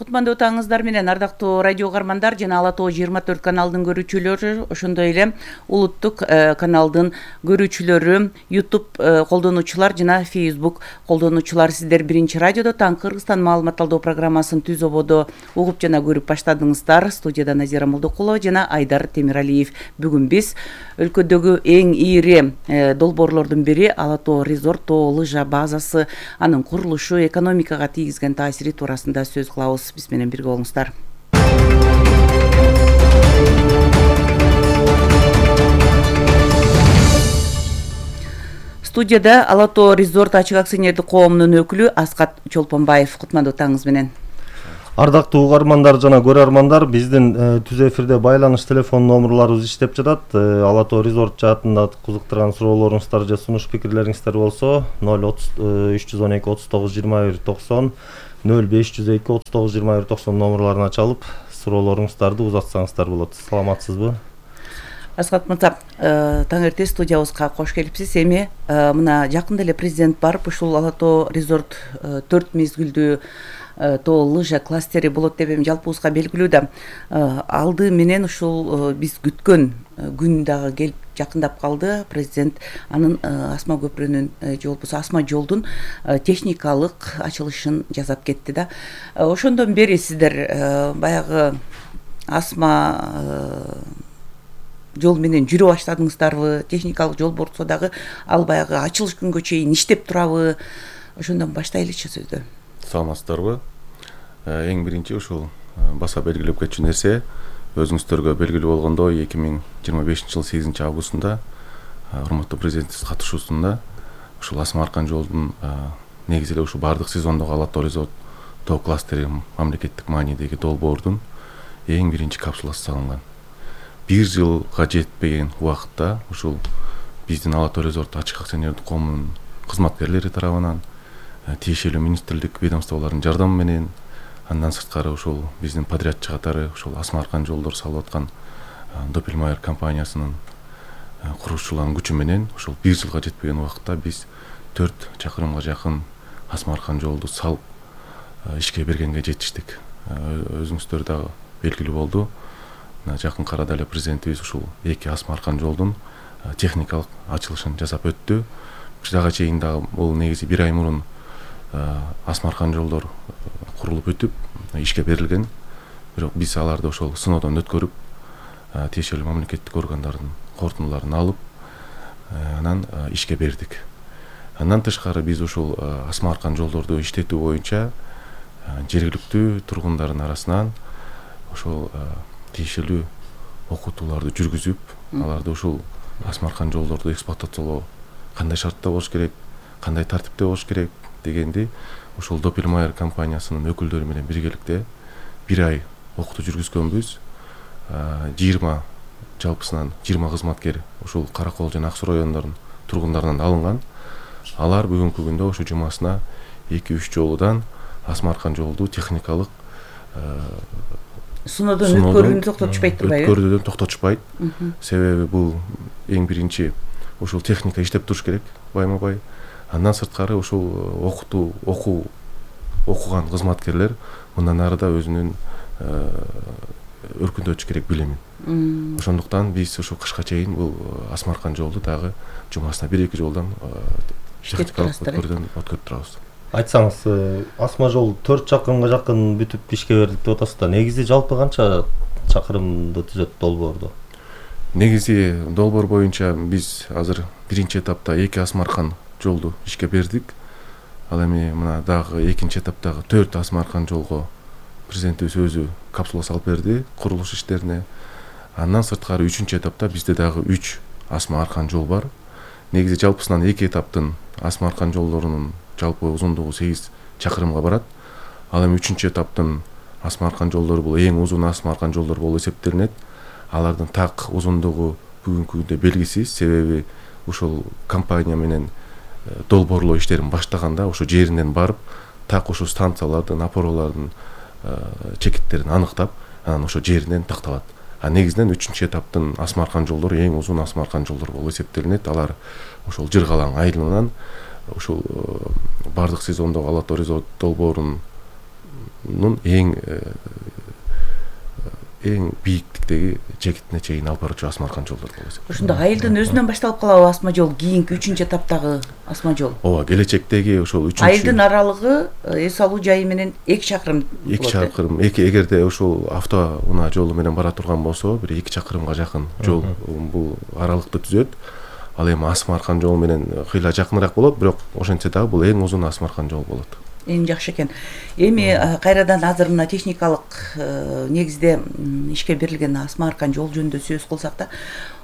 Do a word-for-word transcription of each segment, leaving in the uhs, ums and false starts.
Кутмандуу таңыңыздар менен ардактуу радио угармандар жана Ала Тоо жыйырма төрт каналдын көрүүчүлөрү, ошондой эле улуттук каналдын көрүүчүлөрү, YouTube колдонуучулар жана Facebook колдонуучулар, сиздер биринчи радиодо Таң Кыргызстан маалымат алуу программасын түз ободо угуп жана көрүп баштадыңыздар. Студияда Назира Молдокулова жана Айдар Темиралиев. Бүгүн биз өлкөдөгү эң ийри долбоорлордун бири Ала Тоо резорт тоо лыжа базасы, анын курулушу, экономикага тийгизген таасири туурасында сөз кылабыз. Биз менен бирге болуңуздар. Студияда Ала Тоо резорт ачык акционердик коомунун өкүлү Аскат Чолпонбаев. Кутмандуу таңыңыз менен. Ардактуу угармандар жана көрөрмандар, биздин түз эфирде байланыш телефон номерларыбыз иштеп жатат. Ала Тоо резорт жаатында кызыктырган суроолоруңуздар же сунуш пикирлериңиздер болсо ноль үч жүз он эки отуз тогуз жыйырма бир токсон ноль беш жүз эки отуз тогуз жыйырма бир токсон номерларына чалып суроолоруңуздарды узатсаңыздар болот. Саламатсызбы? Аскат мырза, таң эрте студиябызга кош келипсиз. Эми мына жакында эле президент барып, ушул Ала Тоо резорт төрт мезгилдүү тоо лыжа кластери болот деп эми жалпыбызга белгилүү да. Алды менен ушул биз күткөн күн дагы келип жакындап калды. Президент анын Асма көпүрөнүн же болбосо Асма жолдун техникалык ачылышын жасап кетти да. Ошондон бери сиздер баягы Асма жол менен жүрө баштадыңыздарбы? Техникалык жол болсо дагы ал баягы ачылыш күнгө чейин иштеп турабы? Ошондон баштайлычы сөздү. Саламатсыздарбы? Эң биринчи ушул баса белгилеп кетчү нерсе, өзүңүздөргө белгилүү болгондой эки миң жыйырма бешинчи жылы сегизинчи августунда урматтуу президентибиз катышуусунда ушул Асма Аркан жолдун негизи эле ушул бардык сезондогу Ала Тоо резорт тоо кластери мамлекеттик маанидеги долбоордун эң биринчи капсуласы салынган. Бир жылга жетпеген убакытта ушул биздин Ала Тоо резорт ачык акционердик коомунун кызматкерлери тарабынан тиешелүү министрлик ведомстволордун жардамы менен, андан сырткары ушул биздин подрядчы катары ушул Асма Аркан жолдор салып аткан Доппельмайер компаниясынын курушчуларынын күчү менен ушул бир жылга жетпеген убакытта биз төрт чакырымга жакын Асма Аркан жолду салып ишке бергенге жетиштик. Өзүңүздөр дагы белгилүү болду. Жакынкы арада эле президентибиз ушул эки Асма Аркан жолдун техникалык ачылышын жасап өттү. Бирага чейин дагы бул негизи бир ай мурун Асма Аркан жолдор курулуп бүтүп ишке берилген. Бирок биз аларды ошол сыноодон өткөрүп, тиешелүү мамлекеттик органдардын корутундуларын алып, анан ишке бердик. Андан тышкары биз ушул Асма Аркан жолдорду иштетүү боюнча жергиликтүү тургундардын арасынан ошол тиешелүү окутууларды жүргүзүп, аларды ушул Асма Аркан жолдорду эксплуатациялоо кандай шартта болуш керек, кандай тартипте болуш керек дегенди ушул Доппельмайер компаниясынын өкүлдөрү менен биргеликте бир ай окутуу жүргүзгөнбүз. жыйырма жалпысынан жыйырма кызматкер ушул Кара Кол жана Ак Суу райондорунун тургундарынан алынган. Алар бүгүнкү күндө ошо жумасына эки үч жолудан Асма Аркан жолду техникалык сыноодон өткөрүүнү токтотушпайт турбайбы? Өткөрүүдөн токтотушпайт. Себеби бул эң биринчи ушул техника иштеп туруш керек байма-бай. Андан сырткары ушул окутуу, окуу окуган кызматкерлер мындан ары да өзүнүн өркүндөтүш керек билимин. Ошондуктан биз ушу кышка чейин бул Асма Аркан жолду дагы жумасына бир эки жолдан техникалык өткөрүүдөн өткөрүп турабыз. Айтсаңыз, Асма жол төрт чакырымга жакын бүтүп ишке бердик деп атасыз да. Негизи жалпы канча чакырымды түзөт долбоорду? Негизи долбоор боюнча биз азыр биринчи этапта эки Асма Аркан жолду ишке бердик. Ал эми мына дагы экинчи этаптагы төрт Асма Аркан жолго президентибиз өзү капсула салып берди курулуш иштерине. Андан сырткары үчүнчү этапта бизде дагы үч Асма Аркан жол бар. Негизи жалпысынан эки этаптын Асма Аркан жолдорунун жалпы узундугу сегиз чакырымга барат. Ал эми үчүнчү этаптын Асма Аркан жолдору бул эң узун Асма Аркан жолдор болуп эсептелинет. Алардын так узундугу бүгүнкү күндө белгисиз, себеби ушул компания менен долбоорлоо иштерин баштаганда ошо жеринен барып, так ошо станциялардын, опоралардын чекиттерин анықтап, анан ошо жеринен такталат. А негизинен үчүнчү этаптын Асма Аркан жолдору эң узун Асма Аркан жолдор болуп эсептелинет. Алар ошол Жыргалаң айылынан ушул бардык сезондогу Ала Тоо резорт долбоорун эң эң бийиктиктеги жэкетине чейин алып баруучу асма аркан жолдор болот. Ошондо айылдын өзүнөн башталып калабы асма жол, кийинки үчүнчү этаптагы асма жол? Ооба, келечектеги ошол үчүнчү айылдын аралыгы эс алуу жайы менен эки чакырым болот. эки чакырым, эки эгерде ошол автоунаа жолу менен бара турган болсо, бир эки чакырымга жакын жол бул аралыкты түзөт. Ал эми асма аркан жол менен кыйла жакыныраак болот, бирок ошентсе дагы бул эң узун асма аркан жол болот. Эң жакшы экен. Эми кайрадан азыр мына техникалык негизде ишке берилген асма аркан жол жөнүндө сөз кылсак да,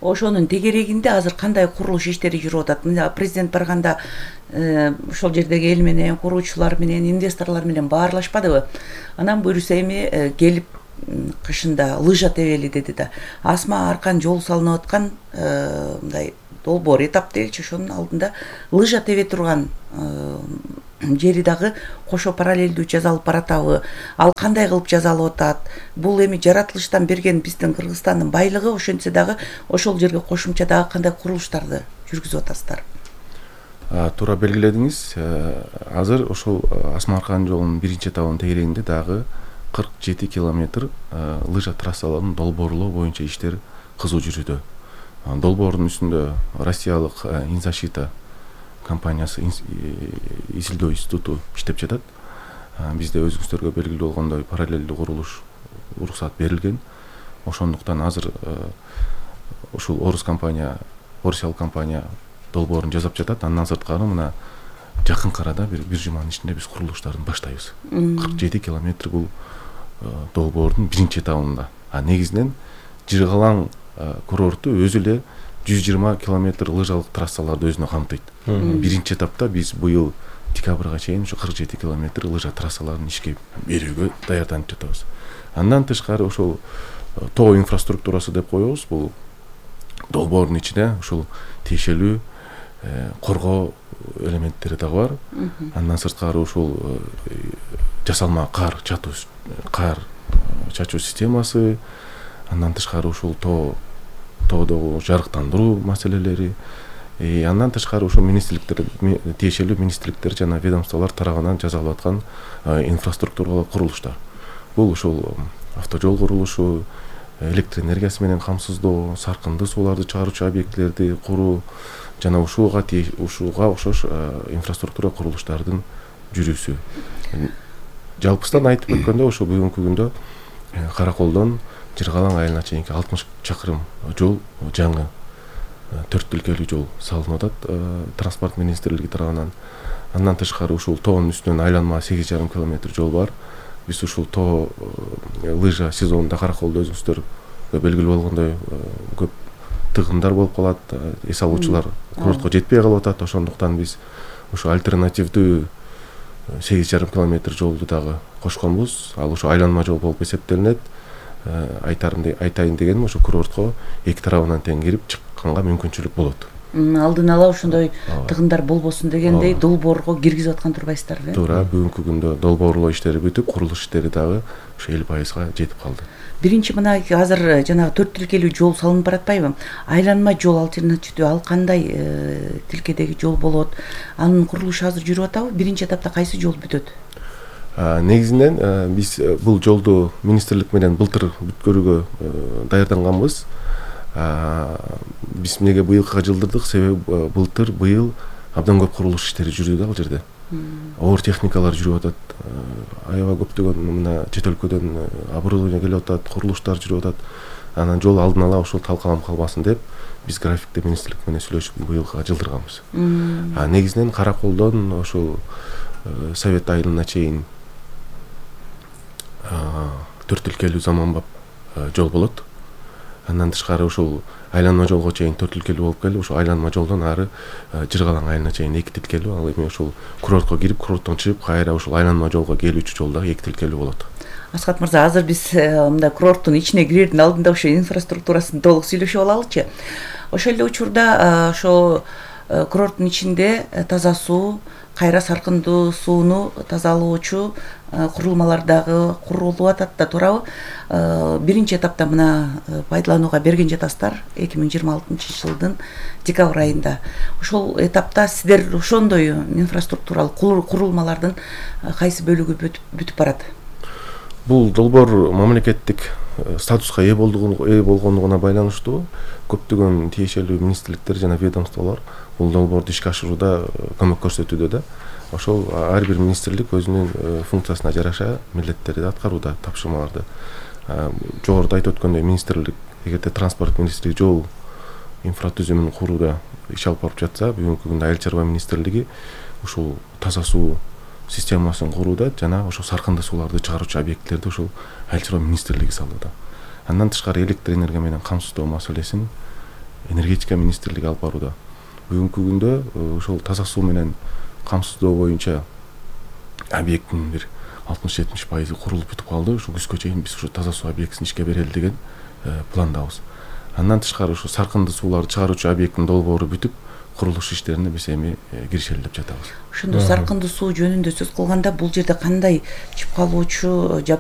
ошонун тегерегинде азыр кандай курулуш иштери жүрүп атат? Мына президент барганда ошол жердеги эл менен, куруучулар менен, инвесторлор менен баарлашпадыбы? Анан буюрса эми келип кышында лыжа тебели деди да. Асма аркан жол салынып аткан мындай долбоор этап делчи, ошонун алдында лыжа тебе турган жери дагы кошо параллелдүү жасалып баратабы? Ал кандай кылып жасалып атат? Бул эми жаратылыштан берген биздин Кыргызстандын байлыгы, ошентсе дагы ошол жерге кошумча дагы кандай курулуштарды жүргүзүп атасыздар? Туура белгиледиңиз. Азыр ошол асма аркан жолунун биринчи этабынын тегерегинде дагы кырк жети километр лыжа трассаларын долбоорлоо боюнча иштер кызуу жүрүүдө. Долбоордун үстүндө Россиялык Инзащита компаниясы, изилдөө институту иштеп жатат. Бизде өзүңүздөргө белгилүү болгондой параллелдүү курулуш уруксат берилген. Ошондуктан азыр ушул орус компания, орусиялык компания долбоорун жасап жатат. Андан сырткары мына жакынкы арада бир бир жуманын ичинде биз курулуштарын баштайбыз. кырк жети километр бул долбоордун биринчи этабында. А негизинен Жыргалаң курорту өзү эле жүз жыйырма километр лыжалык трассаларды өзүнө камтыйт. Биринчи этапта биз быйыл декабрга чейин ушу кырк жети километр лыжа трассаларын ишке берүүгө даярданып жатабыз. Андан тышкары ошол тоо инфраструктурасы деп коебуз. Бул долбоордун ичинде ушул тиешелүү коргоо элементтери дагы бар. Андан сырткары ушул жасалма кар чатуу кар чачуу системасы, андан тышкары ушул тоо тоодогу жарыктандыруу маселелери, андан тышкары ушул министрликтер, тиешелүү министрликтер жана ведомстволор тарабынан жасалып аткан инфраструктуралык курулуштар. Бул ушул автожол курулушу, электр энергиясы менен камсыздоо, саркынды сууларды чыгаруучу объектилерди куруу жана ушуга ушуга окшош инфраструктура курулуштардын жүрүүсү. Жалпыстан айтып өткөндө ошо бүгүнкү күндө Караколдон Жыргалаң айылына чейинки алтымыш чакырым жол жаңы төрт тилкелүү жол салынып атат транспорт министрлиги тарабынан. Андан тышкары ушул тоонун үстүнөн айланма сегиз жарым километр жол бар. Биз ушул тоо лыжа сезонунда Караколдо өзүңүздөр белгилүү болгондой көп тыгындар болуп калат, эс алуучулар курортко жетпей калып атат. Ошондуктан биз ушу альтернативдүү сегиз жарым километр жолду дагы кошконбуз. Ал ушу айланма жол болуп эсептелинет. Айтарым айтайын дегеним ушу курортко эки тарабынан тең кирип чыкканга мүмкүнчүлүк болот. Алдын ала ошондой тыгындар болбосун дегендей долбоорго киргизип аткан турбайсыздарбы? Туура, бүгүнкү күндө долбоорлоо иштери бүтүп, курулуш иштери дагы ушу элүү пайызга жетип калды. Биринчи мына азыр жанагы төрт тилкелүү жол салынып баратпайбы? Айланма жол альтернативдүү ал кандай тилкедеги жол болот? Анын курулушу азыр жүрүп атабы? Биринчи этапта кайсы жол бүтөт? Негизинен биз бул жолду министрлик менен былтыр бүткөрүүгө даярданганбыз. Биз эмнеге быйылкыга жылдырдык? Себеби былтыр быйыл абдан көп курулуш иштери жүрдү да ал жерде. Оор техникалар жүрүп атат. Аябай көптөгөн мына чет өлкөдөн оборудование келип атат, курулуштар жүрүп атат. Анан жол алдын ала ошол талкаланып калбасын деп биз графикти министрлик менен сүйлөшүп быйылкыга жылдырганбыз. А негизинен Караколдон ошол Совет айылына чейин төрт тилкелүү заманбап жол болот. Андан тышкары ушул айланма жолго чейин төрт тилкелүү болуп келип, ушул айланма жолдон ары Жыргалаң айылына чейин эки тилкелүү. Ал эми ушул курортко кирип, курорттон чыгып, кайра ушул айланма жолго келүүчү жол дагы эки тилкелүү болот. Асхат мырза, азыр биз мындай курорттун ичине кирердин алдында ошо инфраструктурасын толук сүйлөшүп алалычы. Ошол эле учурда ошо курорттун ичинде таза суу, кайра саркындуу сууну тазалоочу курулмалар дагы курулуп атат да, туурабы? Биринчи этапта мына пайдаланууга берген жатасыздар эки миң жыйырма алтынчы жылдын декабрь айында. Ошол этапта сиздер ошондой инфраструктуралык курулмалардын кайсы бөлүгү бүтүп барат? Бул долбоор мамлекеттик статуска ээ ээ болгондугуна байланыштуу көптөгөн тиешелүү министрликтер жана ведомстволор бул долбоорду ишке ашырууда көмөк көрсөтүүдө да. Ошол ар бир министрлик өзүнүн функциясына жараша милдеттерди аткарууда, тапшырмаларды. Жогоруда айтып өткөндөй, министрлик эгерде транспорт министрлиги жол инфратүзүмүн курууда иш алып барып жатса, бүгүнкү күндө айыл чарба министрлиги ушул таза суу системасын курууда жана ошо саркынды сууларды чыгаруучу объектилерди ушул айыл чарба министрлиги салууда. Андан тышкары электр энергия менен камсыздоо маселесин энергетика министрлиги алып барууда. Бүгүнкү күндө ушул таза суу менен камсыздоо боюнча объекттин бир алтымыш жетимиш пайызы курулуп бүтүп калды. Ушу күзгө чейин биз ушу таза суу объектисин ишке берели деген пландабыз. Андан тышкары ушу саркынды сууларды чыгаруучу объекттин долбоору бүтүп, курулуш иштерине биз эми киришели деп жатабыз. Ошондо саркынды суу жөнүндө сөз кылганда бул жерде кандай чыпкалоочу жабдуу